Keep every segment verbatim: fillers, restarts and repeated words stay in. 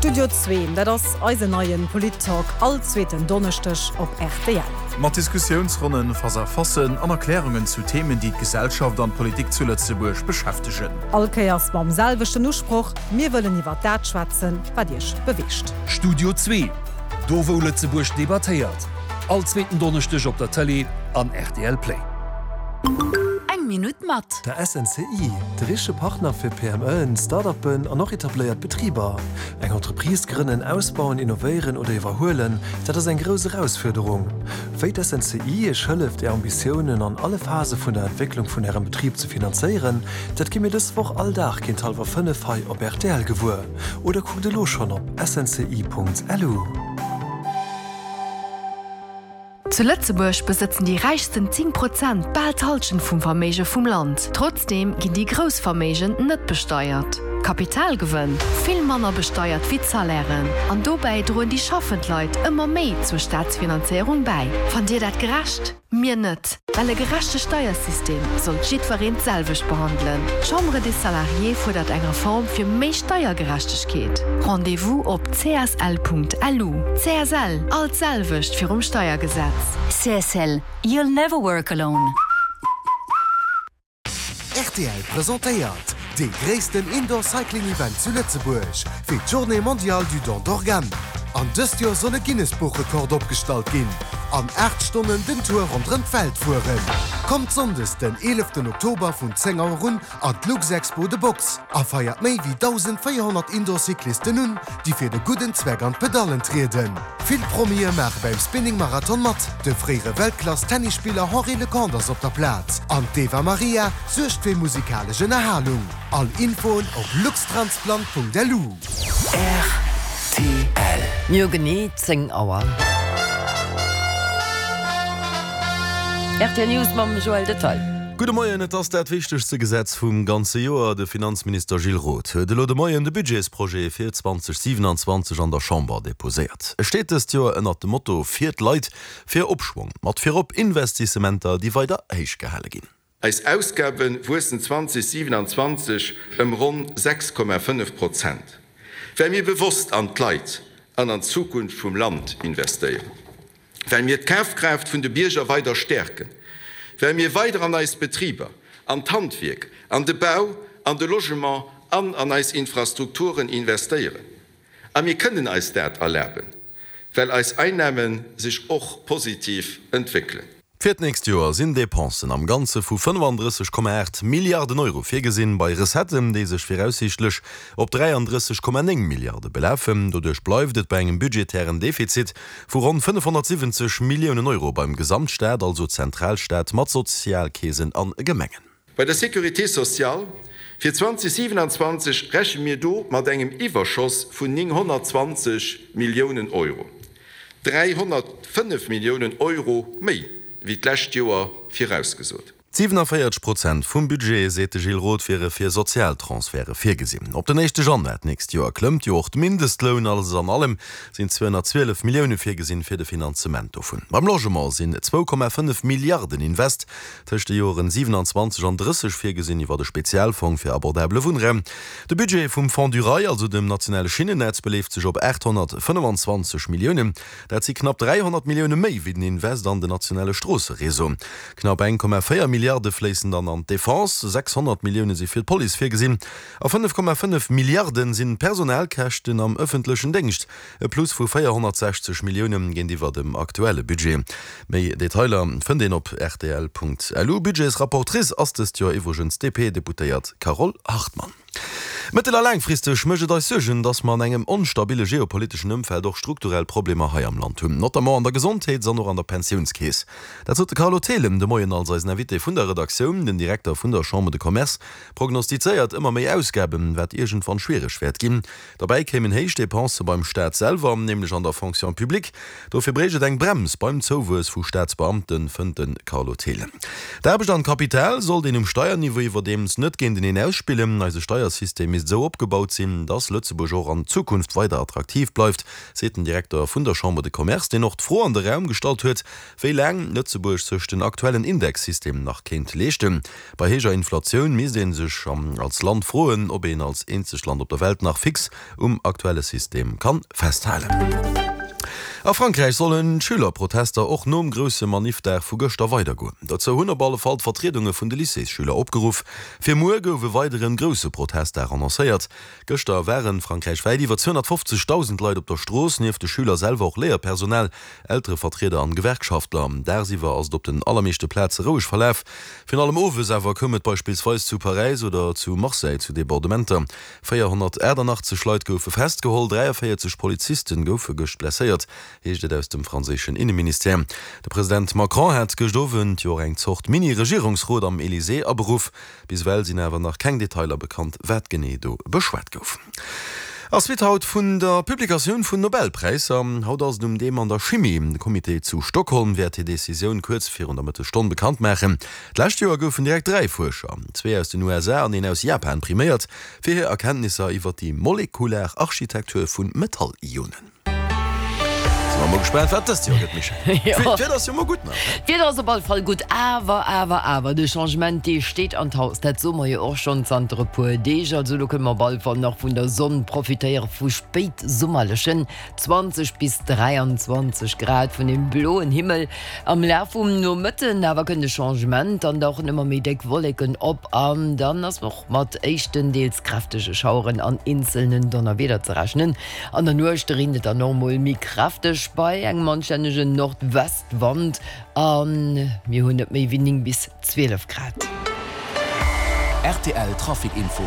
Studio Zwee, dat ass eisen neien Polit-Talk all zweeten Donneschdeg op R T L. Mat Diskussiounsronnen, Face-à-facen an Erklärungen zu Themen, déi d'Gesellschaft an d'Politik zu Lëtzebuerg beschäftegen. All Kéiers mam selwechten Usproch: Mir wëllen iwwer dat schwätzen, wat iech beweegt. Studio Zwee, do wou Lëtzebuerg debattéiert. All zweeten Donneschdeg op der Tëlee an R T L Play. Eng Minutt mat. Der S N C I, de richtege Partner fir P M Eën, Startuppen an och etabléiert Betriber. Eng Entreprise grënnen, ausbauen, innovéieren oder iwwerhuelen, dat ass eng grouss Erausfuerderung. Wéi d'S N C I iech hëlleft, är Ambitiounen an alle Phase vun der Entwécklung vun ärem Betrib ze finanzéieren, dat gitt mir dës Woch all Dag géint hallwer fënnef hei op R T L gewuer. Oder kuckt elo schonn op S N C I Punkt L U. Zu Lëtzebuerg besëtzen déi räichsten zéng Prozent bal d'Hallschent vum Verméige vum Land. Trotzdeem ginn déi grouss Verméigen net besteiert. Kapitalgewënn vill manner besteiert wéi d'Salairen. An dobäi droen déi schaffend Leit ëmmer méi zur Staatsfinanzéierung bäi. Fannt Dir dat gerecht? Mir net. Well e gerechte Steiersystem sollt jiddwereen d'selwecht behandelen. D'Chambre des Salariés fuerdert eng Reform fir méi Steiergerechtegkeet. Rendez-vous op C S L Punkt L U. C S L, all d'selwecht virum Steiergesetz. C S L, you'll never work alone. R T L presentéiert dee gréissten Indoor Cycling Event zu Lëtzebuerg fir d'Journée mondiale du don d'organes. An dëst Joer soll e Guinness-Buchrekord opgestallt ginn. An aacht Stonnen den Tour ronderëm d'Welt fueren. Kommt sonndes den eeleften Oktober vun zéng Auer un an d'Luxexpo The Box a feiert méi wéi dausendvéierhonnert Indoor-Cyclisten un, déi fir de gudden Zweck an d'Pedallen trieden. Vill Promie maache beim Spinning Marathon mat. De fréiere Weltklass-Tennisspiller Henri Leconte ass op der Plaz. An d'Eva Maria suergt fir musikalesch Ënnerhalung. All Infoen op luxtransplant Punkt L U. R T L. Mir genee zéng Auer. R T L News mam Joël Detail. Gudde Moien, et ass dat wichtegste Gesetz vum ganze Joer. De Finanzminister Gilles Roth huet elo de Moien de Budgetsprojet fir zweedausendsiwenanzwanzeg an der Chamber deposéiert. E steet dëst Joer ënnert dem Motto Fir d'Leit, fir Opschwong, mat virop Investissementer, déi weider héich gehale ginn. Eis Ausgabe wuessen zweedausendsiwenanzwanzeg ëm ronn sechs Komma fënnef Prozent. Well mir bewosst an d'Leit an an d'Zukunft vum Land investéieren. Well mir d'Kafkraaft vun de Bierger weider stäerken. Well mir weider an eis Betriber, an d'Handwierk, an de Bau, an de Logement an an eis Infrastrukturen investéieren. A mir kënnen eis dat erlaben, well eis Einnamen sech och positiv entwéckelen. Fir d'nächst Joer sinn Depensen am Ganze vu fënnefandrësseg Komma aacht Milliarden Euro virgesinn, bei Recetten, déi sech viraussiichtlech op dräiandrësseg Komma néng Milliarde belafen. Doduerch bleift et bei engem budgetären Defizit vu ronn fënnefhonnertsiwwenzeg Milliounen Euro beim Gesamtstaat, also Zentralstaat mat Sozialkeesen an Gemengen. Bei der Sécurité sociale fir zweedausendsiwenanzwanzeg rechne mir do mat engem Iwwerschoss vun nénghonnertzwanzeg Milliounen Euro. dräihonnertfënnef Milliounen Euro méi wéi d'lescht Joer virausgesot. siewenundvierzeg Prozent vum Budget, seet de Gilles Roth, wiere fir Sozialtransfere virgesinn. Op den éischte Januar d'nächst Joer klëmmt jo och de Mindestloun. Alles an allem sinn zweehonnertzwielef Millioune virgesinn fir de Finanzement dovun. Beim Logement sinn zwou Komma fënnef Milliarden Invest tëscht de Joren siewenundzwanzeg an drësseg virgesinn iwwer de Spezialfong fir abordabele Wunnraum. De Budget vum Fonds du Rail, also dem nationale Schinnennetz, beleeft sech op aathonnertfënnefenzwanzeg Milliounen. Dat si knapp dräihonnert Millioune méi wéi den Invest an den nationale Stroosseréseau. Knapp eng Komma véier Milliarde fléissen dann an d'Defense, sechshonnert Millioune si fir d'Police virgesinn a fënnef Komma fënnef Milliarde sinn Personalkäschten am ëffentlechen Déngscht, e Plus vu véierhonnertsechzeg Millioune géintiwwer dem aktuelle Budget. Méi Detailer fënnt een op R T L Punkt L U. Budgetsrapportrice ass dëst Joer iwwregens D P-Deputéiert Carole Hartmann. Mëttel a laangfristeg mécht et eis Suergen, datt mer an engem onstabille geopoliteschen Ëmfeld och strukturell Problemer hei am Land hunn, notamment an der Gesondheets an och an der Pensiounskeess. Dat sot de Carlo Thelen de Moien als eisen Invité vun der Redaktioun. Den Direkter vun der Chambre de Commerce prognostizéiert ëmmer méi Ausgaben, wat iergendwann schwiereg wäert ginn. Dobäi kéimen héich Depensë beim Staat selwer, nämlech an der Fonction publique. Dofir bréicht et eng Brems beim Zouwuess vu Staatsbeamten, fënnt de Carlo Thelen. D'Aarbecht an d'Kapital sollt een um Steierniveau iwwerdeems net géinteneen ausspillen. Eise Steiersystem misst esou opgebaut sinn, datt Lëtzebuerg och an Zukunft weider attraktiv bleift, seet den Direkter vun der Chambre de Commerce, deen och d'Fro an de Raum gestallt huet, wéi laang Lëtzebuerg sech den aktuellen Indexsystem nach kéint leeschten. Bei héijer Inflatioun misst ee sech als Land froen, ob een als eenzegt Land op der Welt nach fix um aktuelle System kann festhalen. A Frankräich sollen d'Schülerprotester och nom grousse Maniffdag vu gëschter weidergoen. Dozou hunn op alle Fall d'Vertriedunge vun de Lycéesschüler opgeruff. Fir muer gouf e weideren grousse Protestdag annoncéiert. Gëschter waren frankräichwäit iwwer zweehonnertfofzegdausend Leit op der Strooss, nieft de Schüler selwer och Léierpersonal, Elterevertrieder an Gewerkschaftler. Dagsiwwer ass et op den allermeeschte Plaze roueg verlaf. Virun allem owes awer koum et beispillsweis zu Paräis oder zu Marseille zu Debordementer. véierhonnertaachtannachtzeg Leit goufe festgeholl, dräiavéierzeg Poliziste goufe gëscht blesséiert, heescht et aus dem franséischen Inneministère. De President Macron hat gëscht Owend jo och eng Zort Mini-Regierungsrot am Elysée aberuff. Bis ewell sinn awer nach keng Detailer bekannt, wat genee do beschwat gouf. A Suite haut vun der Publikatioun vun Nobelpräisser. Haut ass et um deem an der Chimie. De Comité zu Stockholm wäert hir Decisioun kuerz virun der Mëttesstonn bekannt maachen. D'lescht Joer goufen direkt dräi Fuerscher, zwee aus den U S A an een aus Japan, priméiert fir hir Erkenntnisser iwwer déi molekular Architektur vu Metall-Ionen. Si mer mol gespaant, wat dëst Joer gëtt, Michèle. D'Wieder ass jo mol gutt nach, ne? D'Wieder ass op alle Fall gutt, awer, awer, awer, de Changement, dee steet an d'Haus. Dat soe mer jo och schonn zanter e puer Deeg. Also elo kënne mer op alle Fall nach vun der Sonn profitéiere vu spéitsummerlechen zwanzeg bis dräianzwanzeg Grad, vun deem bloen Himmel. Am Laf vum Nomëtten awer kënnt de Changement, dann dauchen ëmmer méi déck Wolleken op an dann ass och mat éischten deels kräftege Schaueren an eenzelnen Donnerwieder ze rechnen. An der Nuecht reent et dann och mol méi kräfteg bei engem anstännegen Nordwestwand a mir hunn net méi wéi néng bis zwielef Grad. R T L Trafic Info.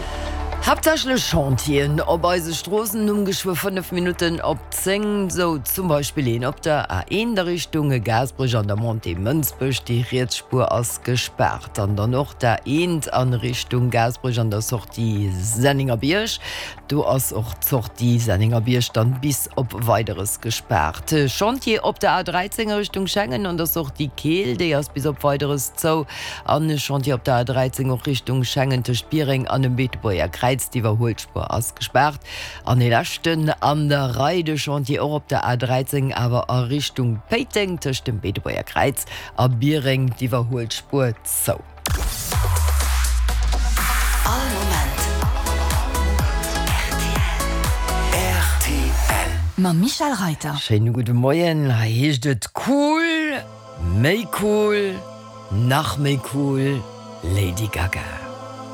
Haaptsächlech Chantieren op eise Stroossen um geschwë fënnef Minutten op zéng. Sou zum Beispill een op der A eent a Richtung Gaasperech an der Montée Mënsbech, déi riets Spuer ass gespaart. An dann och d'A eent a Richtung Gaasperech an der Sortie Sennengerbierg. Do ass och d'Sortie Sennengerbierg dann bis op Weideres gespaart. Chantier op der A dräizéng a Richtung Schengen an der Sortie Keel, déi ass bis op Weideres zou. An e Chantier op der A dräizéng och Richtung Schengen tëscht Biereng an dem Beetebuerger Kräiz, d'Iwwerhuelspuer ass gespaart. An e leschten an der Rei, de Chantier och op der A dräizéng awer a Richtung Péiteng tëscht dem Beetebuerger Kräiz a Biereng, d'Iwwerhuelspuer zou. All Moment R T L. Mam Michel Reiter. Schéine gudde Moien, hei heescht et cool, méi cool, nach méi cool, Lady Gaga.